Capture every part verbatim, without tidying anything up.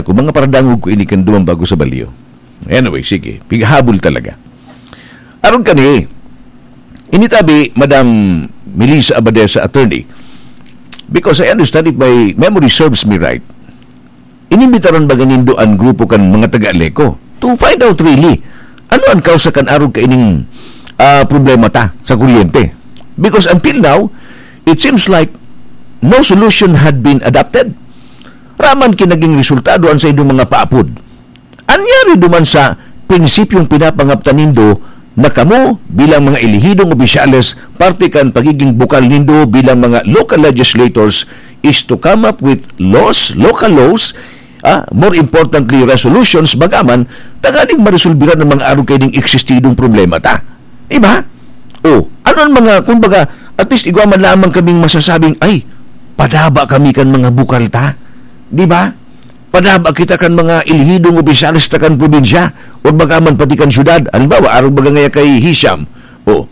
Kung mga paradangog ko ini kan duman bago sa balyo. Anyway, sige. Pigahabol talaga. Arog kani, initabi, Madam Melissa Abadesa, attorney, because I understand, if my memory serves me right, inimbitaran baga nindo an grupo kan mga taga-Aleco to find out really ano an kausa kan arog kaining, ah, problema ta sa kuryente. Because until now, it seems like no solution had been adopted. Raman ki naging resultado an saindong mga paapod. An yari duman sa prinsipyong pinapangaptan nindo na kamo bilang mga elehidong opisyales, parte kan pagiging bukal nindo bilang mga local legislators is to come up with laws, local laws, ah, more importantly, resolutions, bagaman, tanganing maresolbiran ang mga arog kaining eksistidong problema ta. Di ba? O, ano ang mga, kumbaga, at least igwa man lamang kaming masasabing, "Ay, padaba kami kan mga bukal ta." Di ba? Padaba kita kan mga elehidong opisyales ta kan probinsya, o bagaman pati kan syudad. Halimbawa, arog baga ngaya kay Hisham. O,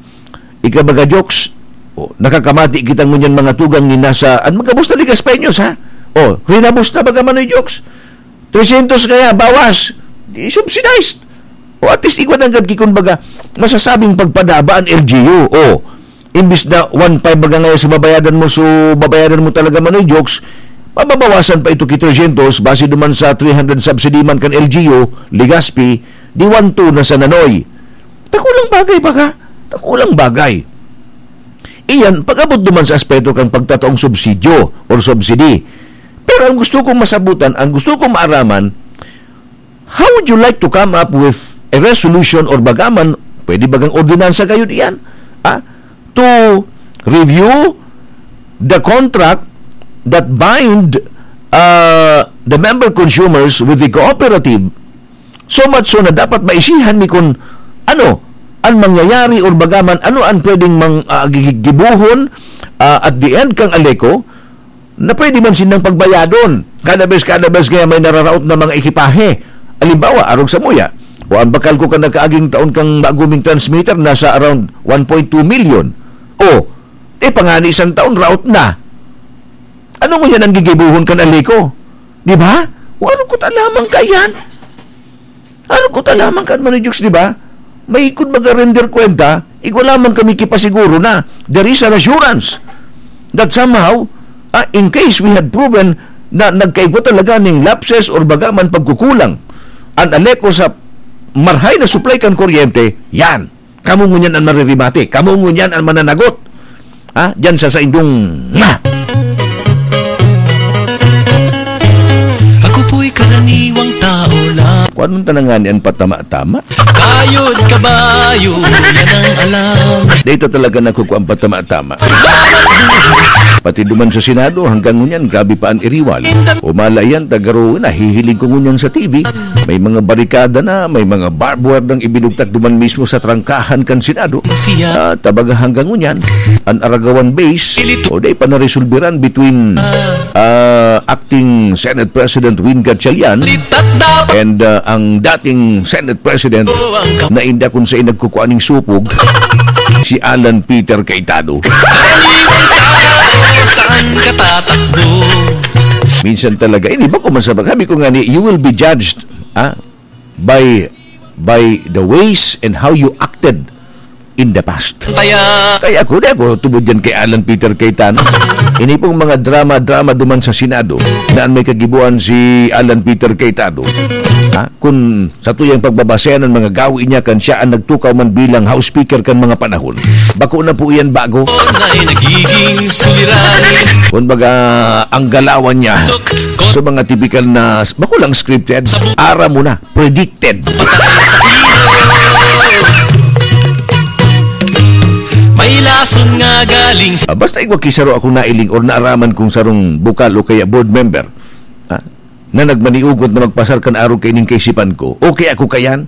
ika baga, Jokes, o, nakakamati kita ngunyan mga tugang ni nasa, an mga boss na Ligas Peños, ha? O, rinabos na baga man, Jokes? Tresyentos kaya, bawas. Di subsidized. O, at least, igwa nanggad ki, kumbaga, masasabing pagpadaba an L G U. O, imbis na one five baga ngayon sa babayadan mo, so babayadan mo talaga, Manoy Jokes, mababawasan pa ito ki tresyentos, base duman sa three hundred subsidy man kan L G U, Legazpi, di one two na sa Nanoy. Dakulang bagay baga. Dakulang bagay. Iyan, pag-abot duman sa aspeto kan pagtataong subsidyo or subsidy. Pero ang gusto kong masabutan, ang gusto kong maaraman, how would you like to come up with a resolution or bagaman, pwede bagang ordinansa gayon iyan, ah, to review the contract that bind, uh, the member consumers with the cooperative, so much so na dapat maisihan mi kun ano an mangyayari or bagaman ano an pwedeng mang, ah, gi-, gi-, gibohon, ah, at the end kan Aleco, na pwede man sindang pagbayadon. Kada bes, kada bes kaya may nararaot na mga ekipahe. Halimbawa, arog samuya, o an bakal ko kan nakaaging taon kan baguming transmitter, nasa around one point two million. O, eh, pangani isang taon, raot na. Ano ngunyan an gigibohon kan Aleco? Di ba? O, arog ko ta lamang kaiyan. Arog ko ta lamang kan, Manoy Jokes, di ba? May kun baga render kwenta, igwa lamang kami ki pasiguro na there is an assurance that somehow, ah, in case we had proven na nagkaigwa talaga ning lapses or bagaman pagkukulang an Aleco sa marhay na supply kan kuryente, yan. Kamo ngunyan an maririmate, kamo ngunyan an mananagot. Ha? Diyan sa saindong, nga! Ako po'y karaniwang tao lang. Kung anong tanangan yan, patama-tama? Kayod kabayo, yan ang alam. Dito talaga nakukuha ang patama-tama. Pati duman sa Senado, hanggang ngunyan, grabe pa an iriwal. Umala yan, tagaro, nahihiling ko ngunyan sa T V. May mga barikada na, may mga barbed wire nang ibinugtak duman mismo sa trangkahan kan Senado. Siya. Ah, tabaga hanggang ngunyan, an Aragawan base, o di pa naresolbiran between, ah, acting Senate President Win Gatchalian and, ah, ang dating Senate President na inda kung saan nagkukua ning supog, si Alan Peter Cayetano. Saan ka tatakbo? Minsan talaga, ini ba ko masabag? Sabi ko nga ni, you will be judged, ah, by, by the ways and how you acted in the past. Kaya ako, di ako tubod yan kay Alan Peter Cayetano. Ini pong mga drama-drama duman sa Senado na an may kagibohan si Alan Peter Cayetano. Ha? Kun sa tuyang pagbabasehan an mga gawi niya kan siya an nagtukaw man bilang House Speaker kan mga panahon, bako na po iyan bago. Na'y nagiging suliranin. Kumbaga, ang galawan niya sa mga tipikal na, bako lang scripted, ara mo na, predicted. May lason nga galing sa Ah, basta igwa ki saro akong nailing or naaraman kong sarong bukal o kaya board member, ah, na nagmaniugot na magpasar kan arog kaining kaisipan ko, okay ako kayan?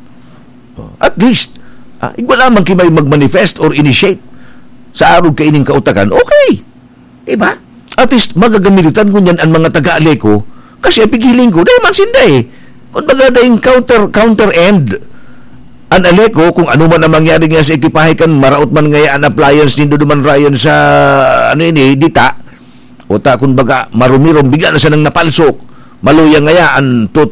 At least, ah, igwa lamang ki may mag-manifest or initiate sa arog kaining kautakan, okay. Di ba? At least, magagamiritan ngunyan an mga taga-Aleco, kasi ang pighiling ko, dai man sinda eh. Kumbaga, daing counter, counter end an Aleco, kung ano man ang mangyari nga sa ekipahe kan, maraot man ngaya an appliance nindo duman, Ryan, sa, ano ini, dita, o ta, kumbaga, marumirom, bigla na siya nang napalsok. Maluya ngaya an